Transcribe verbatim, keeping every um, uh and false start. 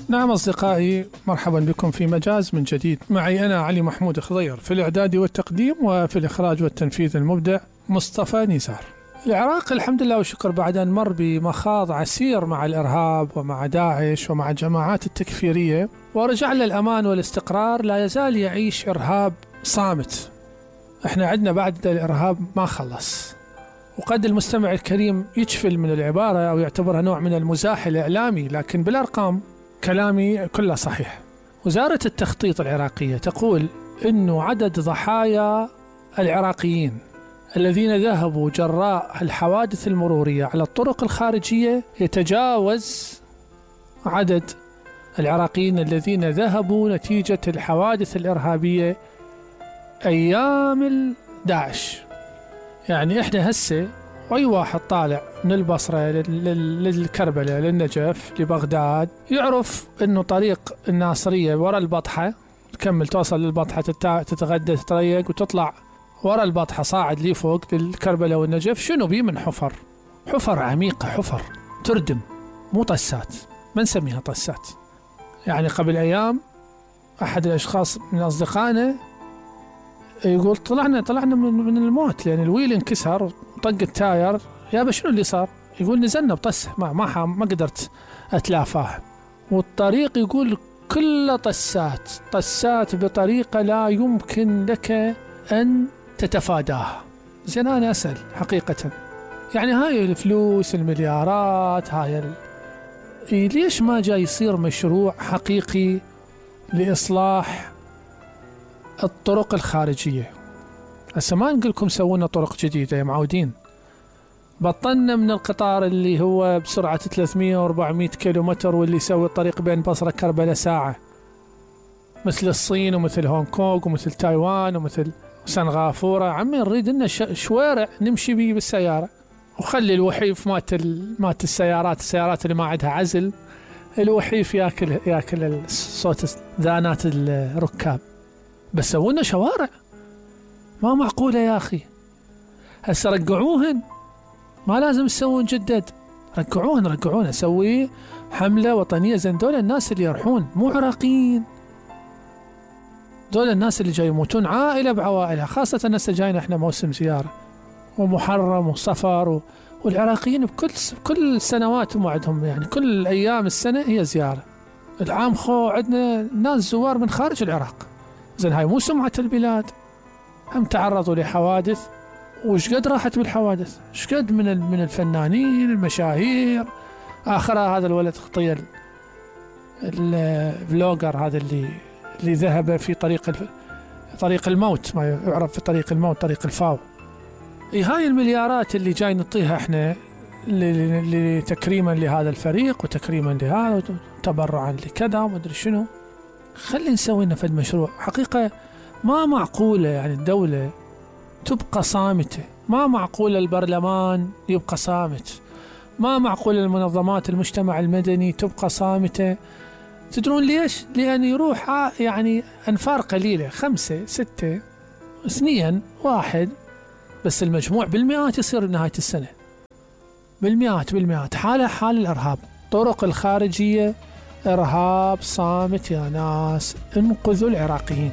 نعم أصدقائي، مرحبا بكم في مجاز من جديد. معي أنا علي محمود خضير في الإعداد والتقديم، وفي الإخراج والتنفيذ المبدع مصطفى نزار. العراق الحمد لله والشكر بعد أن مر بمخاض عسير مع الإرهاب ومع داعش ومع الجماعات التكفيرية، ورجع للأمان والاستقرار، لا يزال يعيش إرهاب صامت. احنا عندنا بعد الإرهاب ما خلص. وقد المستمع الكريم يجفل من العبارة أو يعتبرها نوع من المزاح الإعلامي، لكن بالأرقام كلامي كله صحيح. وزارة التخطيط العراقية تقول إنه عدد ضحايا العراقيين الذين ذهبوا جراء الحوادث المرورية على الطرق الخارجية يتجاوز عدد العراقيين الذين ذهبوا نتيجة الحوادث الإرهابية أيام داعش. يعني إحنا هسه أي واحد طالع من البصرة للكربلاء للنجف لبغداد يعرف إنه طريق الناصرية ورا البطحة، تكمل توصل للبطحة تتغدى تتريق وتطلع ورا البطحة صاعد لي فوق للكربلاء والنجف. شنو بيه من حفر؟ حفر عميقة، حفر تردم، مو طسات، ما نسميها طسات. يعني قبل أيام أحد الأشخاص من أصدقائنا يقول طلعنا طلعنا من, من الموت لأن الويل انكسر وطق التاير. يا شنو اللي صار؟ يقول نزلنا بطسه ما ما ما قدرت أتلافاه. والطريق يقول كله طسات طسات بطريقة لا يمكن لك أن تتفاداها. زين أنا أسأل حقيقة، يعني هاي الفلوس المليارات هاي ال... ليش ما جاي يصير مشروع حقيقي لإصلاح الطرق الخارجية؟ هسه ما نقولكم سوونا طرق جديدة، يا معودين. بطلنا من القطار اللي هو بسرعة ثلاثمية وأربعمية كيلومتر واللي يسوي الطريق بين بصرة كربلاء ساعة، مثل الصين ومثل هونغ كونغ ومثل تايوان ومثل سنغافورة. عمي نريد لنا شوارع نمشي بيه بالسيارة، وخلي الوحيف مات مات السيارات السيارات اللي ما عندها عزل، الوحيف ياكل ياكل صوت ذانات الركاب. بس سوونا شوارع ما معقولة يا أخي. هسه رجعوهن، ما لازم تسوون جدد، رجعوهن رجعوهن سوي حملة وطنية. زين دول الناس اللي يرحون مو عراقيين، دول الناس اللي جاي يموتون عائلة بعوائلها، خاصة الناس جايين احنا موسم زيارة ومحرم وصفر و... والعراقيين بكل كل سنوات موعدهم، يعني كل أيام السنة هي زيارة. العام خو عندنا ناس زوار من خارج العراق. زين هاي مو سمعة البلاد، هم تعرضوا لحوادث. وش قد راحت بالحوادث؟ ايش قد من من الفنانين المشاهير. آخرها هذا الولد خطير الفلوجر هذا اللي اللي ذهب في طريق الف... طريق الموت، ما يعرف في طريق الموت، طريق الفاو. اي هاي المليارات اللي جاي نعطيها احنا لتكريما لهذا الفريق وتكريما لهذا وتبرعا لكذا ومدري شنو. خلي نسوي لنا فد مشروع حقيقة. ما معقولة يعني الدولة تبقى صامتة، ما معقولة البرلمان يبقى صامت، ما معقولة المنظمات المجتمع المدني تبقى صامتة. تدرون ليش؟ لأن يروح يعني أنفار قليلة، خمسة ستة اثنين واحد، بس المجموع بالمئات يصير بنهاية السنة، بالمئات بالمئات. حالة حال الإرهاب، طرق الخارجية إرهاب صامت يا ناس، انقذوا العراقيين.